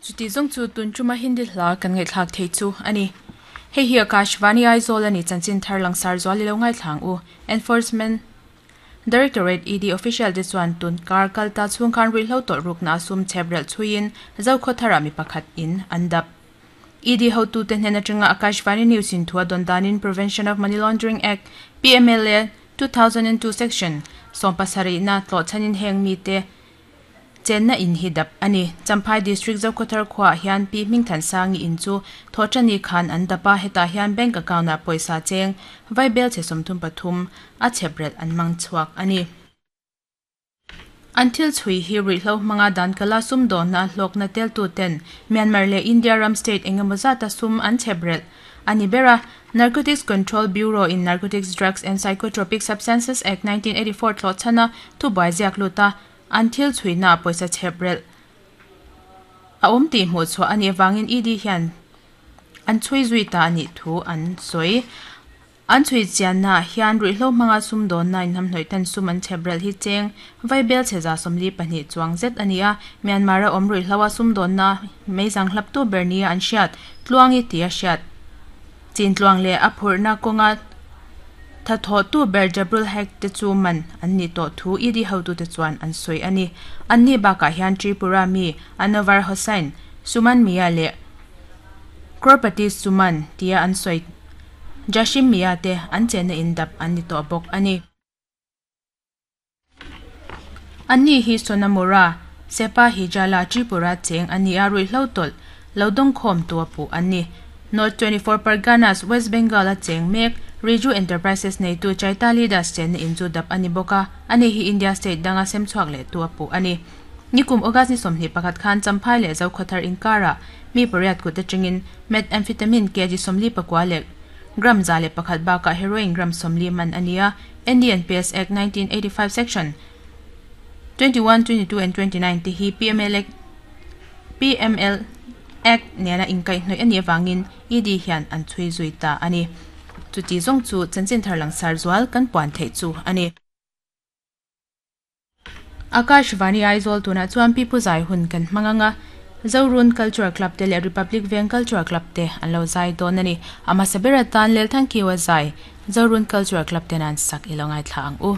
Chuti zawng chu tun tuma Hindi hla kan ngaihthlak thei chu a ni. Hei hi Akashvani Aizawl a ni chanchin thar langsar zual i lo ngaithla ang u. Enforcement Directorate, ED, official te chuan tun kar kal ta chhung khan ruihhlo tawlh rukna a sum chhep relh chhuiin Zokhaw tharah mi pakhat in an dap. ED hotute hnen atanga Akashvani News in thu a dawn danin Prevention of Money Laundering Act, PMLA, 2002 Section 70 na tlawhchhanin heng mite chenna in hi dap a ni. Champhai District Zokhawthar khuaah hian Pi Hmingthansangi in chu Thawhṭani khan an dap a, hetah hian bank account ah pawisa cheng vaibel chhe 33 a chhep relh an mang chhuak a ni. An thil chhui hi ruihhlo hmanga dan kala sumdawnna hlawkna teltu ten Myanmar leh India ram state engemaw zata sum an chhep relh a ni ber a. Narcotics Control Bureau in Narcotics Drugs and Psychotropic Substances Act 1984 tlawhchhana thubuai ziak lut a, an thil chhuina pawisa chhep relh a awm tih hmuh chhuah a nih avangin ED hian an chhui zui ta a nih thu an sawi. An chhui chiannaah hian ruihhlo hmanga sumdawnna inhnamhnawih ten sum an chhep relh hi cheng vaibel chhe 42 chuang zet a ni a, Myanmar-a awm ruihhloa sumdawnna meizang hlaptu ber nia an hriat Tluangi tia hriat chin tluang leh a phurhna kawnga thathawhtu ber Jabrul Haque te chu man an nih tawh thu ED hotute chuan an sawi a ni. Anni bakah hian Tripura mi Anwar Hossain, Suman Mia leh Crorepati Suman tia an sawi Jashim Mia te an chenna in dap an ni tawh bawk a ni. Anni hi Sonamura, Sepahijala, Tripura cheng a ni a, ruihhlo tawlh lo dawngkhawm tu a puh an ni. North 24 Parganas, West Bengal a cheng mek Riju Enterprises neitu Chaitali Das chenna in chu dap a ni bawk a, ani hi India state danga sem chhuak leh tu a puh a ni. Nikum August ni 21 khan Champhai leh Zokhawthar inkarah mi pariat kut atangin Methamphetamine kg 49 leh gram 101 bakah heroin gram 40 man a ni a, NDNPS Act 1985 Section 21, 22 and 29 te hi PML Act PML Act nena inkaihhnawih a nih avangin ED hian an chhui zui ta a ni. Chuti zawng chu chanchin thar langsar zual kan puan theih chu a ni. Akashvani Aizawl tunah chuan Pi Pu Zai hun kan hmang ang a, Zorun Cultural Club te leh Republic Veng Cultural Club te an lo zai dawn a ni. A hmasa ber atan Lelthangkiwa zai Zorun Cultural Club te nan sak i lo ngaithla ang u.